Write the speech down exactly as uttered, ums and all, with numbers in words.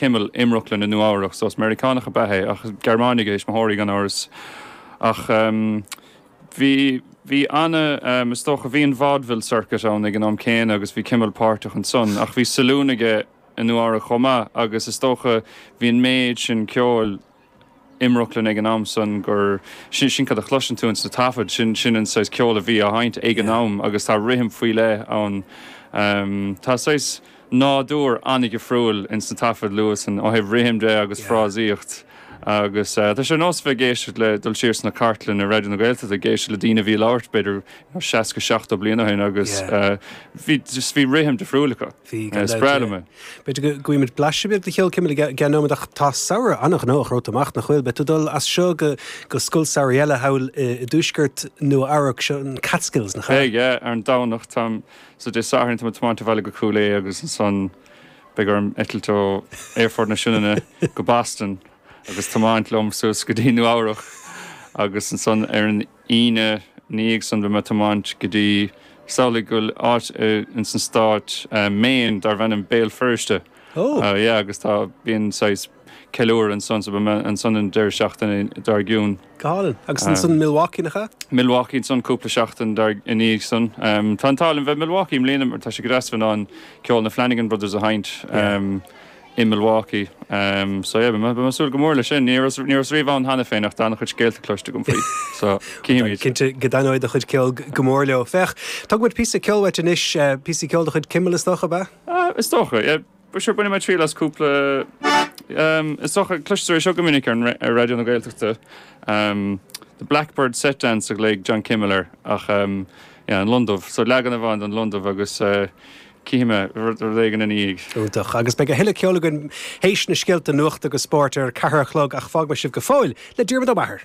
Kimmel i mBrooklyn i Nua Eabhrac, so is Meiriceánach ab ea é ach Gearmánaigh a thuismitheoirí gan amhras. Ach um, bhí bhí anna um, is dócha bhí an vaudeville circuit ann ag an am céanna agus bhí Kimmel páirteach ansan, ach bhí saloon aige i Nua Eabhrac chomh maith agus is dócha bhí an méid sin ceoil i mBrooklyn ag an am san gur sin sin cad a chloiseann tú sna taifid sin sin an saghas ceol a bhí á sheinnt ag an am agus tá rithim faoi leith ann. Um, tá saghas nádúr an-difriúil in sna taifid luath san ó thaobh rithim de agus Yeah. frásaíocht. Agus uh, tá sé nós bheith ag éisteacht le dul siar sna cartlanna Raidió na Gaeltachta ag éisteacht le daoine a bhí ag labhairt b'fhéidir seasca seachtó bliain ó shin agus Yeah. uh, bhí just bhí rithim difriúil acu. Bhí Uh, Is breá liom é. B'fhéidir go bhfaighimid blaiseadh beag de cheol Kimmel i gceann nóiméad ach tá samhradh an-ghnóthach romhat amach nach bhfuil, beidh tú dul as seo go go scoil samhraidh eile thall i i dtuaisceart Nua Eabhrac seo an Catskills nach Hey, yeah, ar an Domhnach tam so Dé Sathairn tá tiomáint abhaile go Cúil Aodha agus ansan beidh orm eitilt ó Aerfort na Sionainne go Boston agus tiomáint liom suas go dtí Nua Eabhrac agus ansan ar an Aoine níag san beidh mé tiomáint go dtí samhlaigh go bhfuil áit in san stát uh, Maine darb ainm Béal Feirste. Oh. Uh, yeah, agus tá bíonn saghas ceiliúradh ansan so beidh mé ansan an deireadh seachtaine dár gcionn. Gálin agus ansan Milwaukee nach ea? Milwaukee ansan cúpla seachtain dar ina dhiaidh san. Um, tá an t-ádh liom bheith Milwaukee i mbliana mar tá sé go deas bheith an ceol na Flanagan Brothers a sheinnt um, i Milwaukee. Um, so yeah, beidh mé súil go mór le sin ní raibh riamh ann cheana féin ach tá an-chuid scéalta cloiste agam faoi. So címid. Cinnte go dtaitneoidh do chuid ceol go mór leo. Féach, Tugmuid píosa ceoil uait anois eh, píosa ceoil de chuid Kimmel is dócha ab ea? Uh, is dócha, yeah, sure bainfidh mé triail as cúpla um, is dócha cloistear é seo go minic ar an ar Raidió na Gaeltachta. Um, the Blackbird Set Dance a glaoigh John Kimmel air ach um, yeah, an Lon Dubh, so leagan amháin den Lon Dubh agus uh, cífidh mé rud éigin ina dhiaidh. Iontach agus beidh a thuilleadh ceoil againn théis na scéalta nuachta agus spóirt ar ceathair a chlog ach fágfaidh mé sibh go fóill le Diarmuid Ó Meachair.